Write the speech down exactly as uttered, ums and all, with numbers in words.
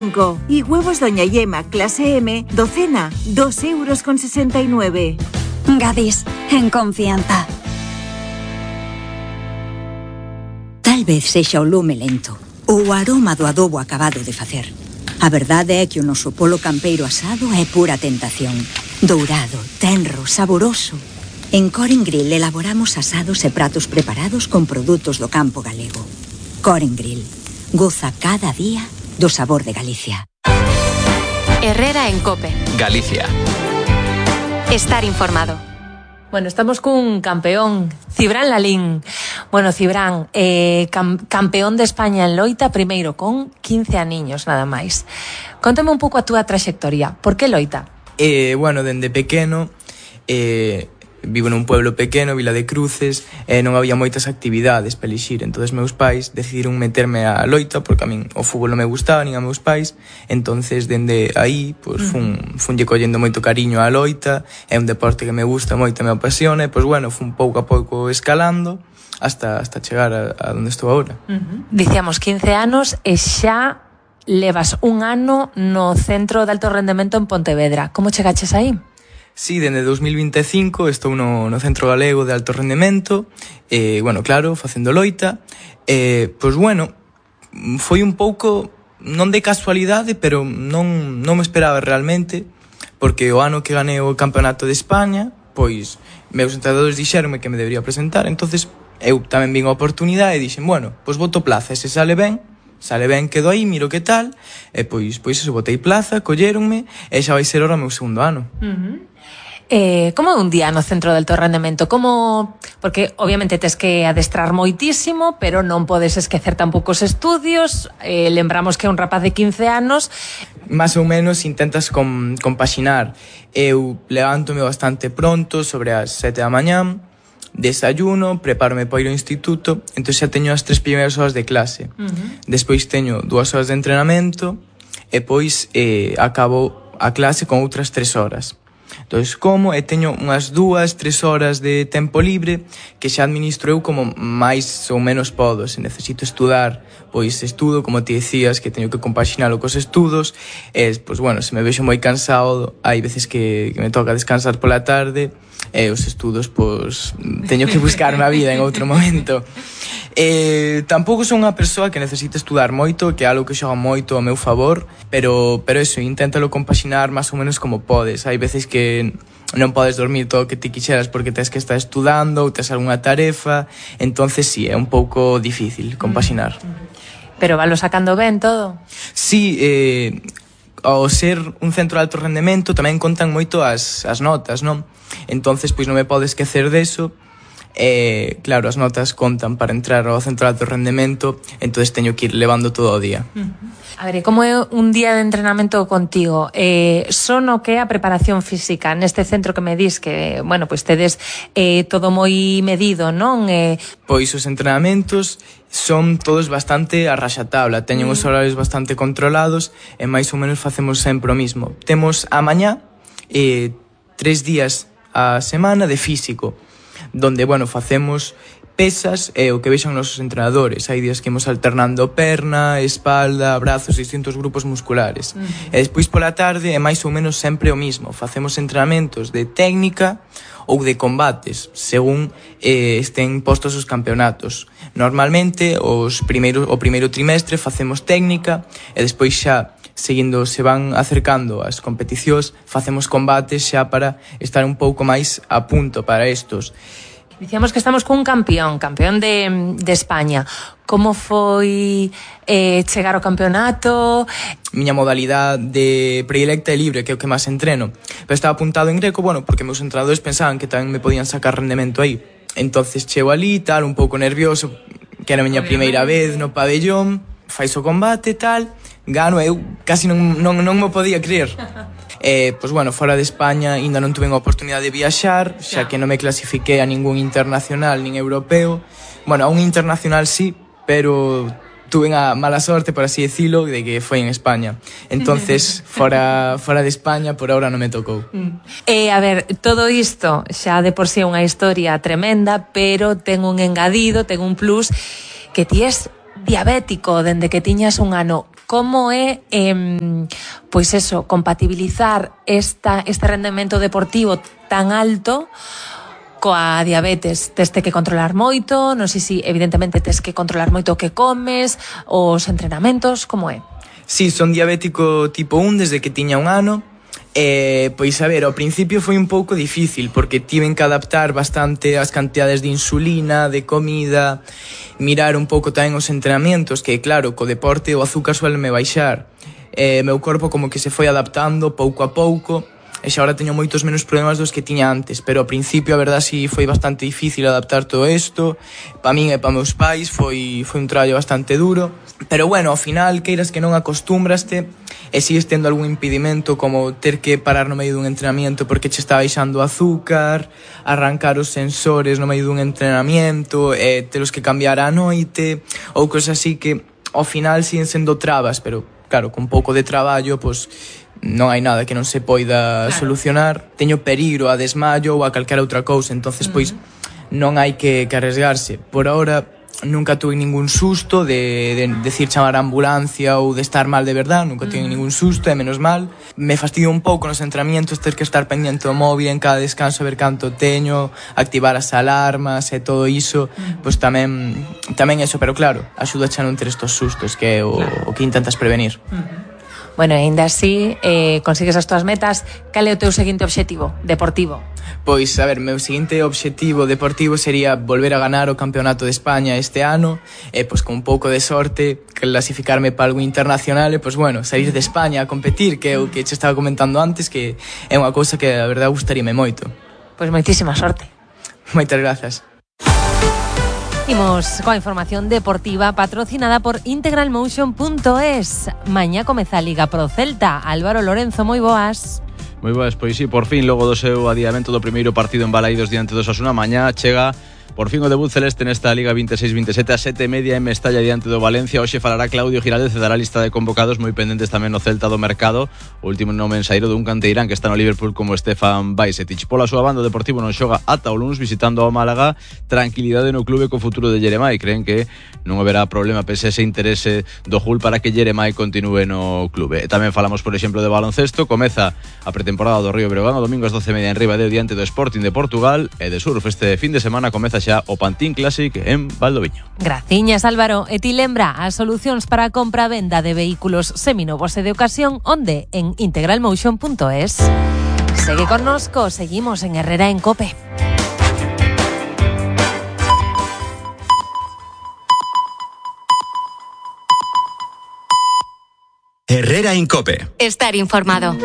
Y huevos Doña Yema clase M, docena, dos euros con sesenta y nueve. Gadis, en confianza. Tal vez sexa o lume lento ou o aroma do adobo acabado de facer. A verdade é que o noso polo campeiro asado é pura tentación. Dourado, tenro, saboroso. En Coren Grill elaboramos asados e pratos preparados con produtos do campo galego. Coren Grill. Goza cada día do sabor de Galicia. Herrera en COPE. Galicia. Estar informado. Bueno, estamos cun campeón, Cibrán Lalín. Bueno, Cibrán, eh, cam campeón de España en loita, primeiro con quince aniños, nada máis. Contame un pouco a túa traxectoria. Por que loita? Eh, bueno, dende pequeno, eh, vivo nun pueblo pequeno, Vila de Cruces, e non había moitas actividades para elixir. Entonces meus pais decidiron meterme a loita, porque a min o fútbol non me gustaba, nin a meus pais. Entonces, dende aí, pues, fun, funlle collendo moito cariño á loita. É un deporte que me gusta moito, me apasiona. E, pues, bueno, fun pouco a pouco escalando hasta, hasta chegar a, a donde estou agora. Uh-huh. Dicíamos quince anos e xa levas un ano no Centro de Alto Rendemento en Pontevedra. Como chegaches aí? Sí, dende dos mil vinte e cinco estou no, no Centro Galego de Alto Rendemento, eh, bueno, claro, facendo loita. Eh, pois, bueno, foi un pouco, non de casualidade, pero non, non me esperaba realmente, porque o ano que ganei o Campeonato de España, pois, meus entrenadores dixeronme que me debería presentar, entonces eu tamén vin a oportunidade e dixen, bueno, pois boto plaza, e se sale ben, sale ben, quedo aí, miro que tal, e pois, pois eso, botei plaza, colléronme, e xa vai ser ahora o meu segundo ano. Uh-huh. Eh, como é un día no Centro de Alto Rendemento? Como... Porque obviamente tes que adestrar moitísimo, pero non podes esquecer tampouco os estudios. Eh, lembramos que é un rapaz de quince anos. Más ou menos intentas com, compaxinar. Eu levántome bastante pronto, sobre as sete da mañán, desayuno, prepárome para ir ao instituto, entón xa teño as tres primeiras horas de clase. Uh-huh. Despois teño dúas horas de entrenamento e pois eh, acabo a clase con outras tres horas. Entón, como, e teño unhas dúas, tres horas de tempo libre que xa administro eu como máis ou menos podo. Se necesito estudar, pois estudo, como ti decías, que teño que compaxinalo cos estudos. E, pois, bueno, se me vexo moi cansado, hai veces que, que me toca descansar pola tarde, e os estudos, pois, teño que buscar unha vida en outro momento. Eh, tampouco son unha persoa que necesita estudar moito, que é algo que xoga moito ao meu favor, pero, pero eso, inténtalo compaxinar máis ou menos como podes. Hai veces que non podes dormir todo o que ti quixeras porque tens que estar estudando ou tens algunha tarefa, entonces sí, é un pouco difícil compaxinar. Pero valo sacando ben todo? Sí, eh, ao ser un centro de alto rendemento tamén contan moito as, as notas, non? Entonces, pois non me podo esquecer deso. E, claro, as notas contan para entrar ao centro de alto rendemento, entonces teño que ir levando todo o día. Uh-huh. A ver, como é un día de entrenamento contigo? Eh, son o que é a preparación física neste centro que me dis que, bueno, pois tedes eh, todo moi medido, non? Eh... Pois os entrenamentos son todos bastante a raxatabla, teñen mm. os horarios bastante controlados e máis ou menos facemos sempre o mismo. Temos a mañá eh, tres días a semana de físico, donde, bueno, facemos pesas e o que vexan nosos entrenadores. Hai días que imos alternando perna, espalda, brazos, distintos grupos musculares. Uh-huh. E despois pola tarde é máis ou menos sempre o mismo. Facemos entrenamentos de técnica ou de combates, según eh, estén postos os campeonatos. Normalmente, os primeiro, o primeiro trimestre facemos técnica e despois xa, seguindo se van acercando as competicións, facemos combates xa para estar un pouco máis a punto para estos. Dicíamos que estamos cun campeón, campeón de, de España. Como foi eh, chegar ao campeonato? Miña modalidade de predilecta e libre, que é o que máis entreno. Pero estaba apuntado en greco, bueno, porque meus entrenadores pensaban que tamén me podían sacar rendemento aí. Entonces chego ali, tal, un pouco nervioso, que era a miña primeira vez no pabellón, fais o combate, tal, gano, eu casi non, non, non me podía creer. Eh, pois, bueno, fora de España ainda non tuve a oportunidade de viaxar, xa que non me clasifiquei a ningún internacional nin europeo. Bueno, a un internacional sí, pero tuve a mala sorte, por así decirlo, de que foi en España. Entonces, fora, fora de España, por ahora non me tocou. Eh, a ver, todo isto xa de por sí é unha historia tremenda, pero ten un engadido, ten un plus, que ti es diabético dende que tiñas un ano. como é eh, pois eso, compatibilizar esta, este rendemento deportivo tan alto coa diabetes. Teste que controlar moito, non sei se evidentemente tes que controlar moito o que comes, os entrenamentos, como é? Sí, son diabético tipo un desde que tiña un ano. Eh, pois a ver, ao principio foi un pouco difícil porque tiven que adaptar bastante as cantidades de insulina, de comida, mirar un pouco tamén os entrenamentos, que claro, co deporte o azúcar suéleme baixar. Eh, meu corpo como que se foi adaptando pouco a pouco e xa agora teño moitos menos problemas dos que tiña antes, pero ao principio a verdad si foi bastante difícil adaptar todo isto. Pa min e pa meus pais foi, foi un traballo bastante duro, pero bueno, ao final queiras que non acostúmbraste e sigues tendo algún impedimento como ter que parar no medio dun entrenamiento porque che está baixando o azúcar, arrancar os sensores no medio dun entrenamiento, e telos que cambiar á noite ou cosas así que ao final siguen sendo trabas, pero claro, con pouco de traballo, pois non hai nada que non se poida claro. solucionar. Teño peligro a desmayo ou a calquera outra cousa, entonces uh-huh. pois non hai que, que arriesgarse. Por ahora nunca tuve ningún susto de, de decir chamar a ambulancia ou de estar mal de verdad, nunca uh-huh. tuve ningún susto, e menos mal. Me fastidio un pouco nos entrenamientos ter que estar pendiente do móvil en cada descanso, ver canto teño, activar as alarmas e todo iso, uh-huh. pois tamén tamén eso, pero claro, axuda a non ter estos sustos, que é o, claro. o que intentas prevenir. Uh-huh. Bueno, ainda así, eh, consigues as tuas metas. Cal é o teu seguinte obxectivo deportivo? Pois, a ver, meu seguinte obxectivo deportivo sería volver a ganar o Campeonato de España este ano, e pois con un pouco de sorte clasificarme para algo internacional e pois bueno, salir de España a competir, que é o que che estaba comentando antes, que é unha cousa que a verdade gustaríame moito. Pois moitísima sorte. Moitas grazas. Imos coa información deportiva patrocinada por integral motion punto es. Mañá comeza a Liga Pro Celta. Álvaro Lorenzo, moi boas. Moi boas, pois sí, por fin, logo do seu adiamento do primeiro partido en Balaídos diante do Osasuna, mañá chega por fin o debut celeste nesta Liga veintiséis veintisiete a sete e media en Mestalla diante do Valencia. Hoxe falará Claudio Giraldez e dará a lista de convocados, moi pendentes tamén no Celta do mercado, o último nome ensaíro dun canteirán que está no Liverpool como Stefan Bajcetic. Pola súa banda, o Deportivo non xoga ata o luns visitando ao Málaga. Tranquilidade no clube co futuro de Jeremai, creen que non haberá problema pese ese interese do Hull para que Jeremai continúe no clube. E tamén falamos, por exemplo, de baloncesto. Comeza a pretemporada do Río Breogán o domingo ás doce e media en Ribadeo diante do Sporting de Portugal, e de surf este fin de semana comeza xa o Pantín Classic en Valdoviño. Graciñas, Álvaro. E ti lembra as solucións para a compra-venda de vehículos seminovos e de ocasión, onde? En integral motion punto es. Segue connosco, seguimos en Herrera en Cope. Herrera en Cope. Estar informado.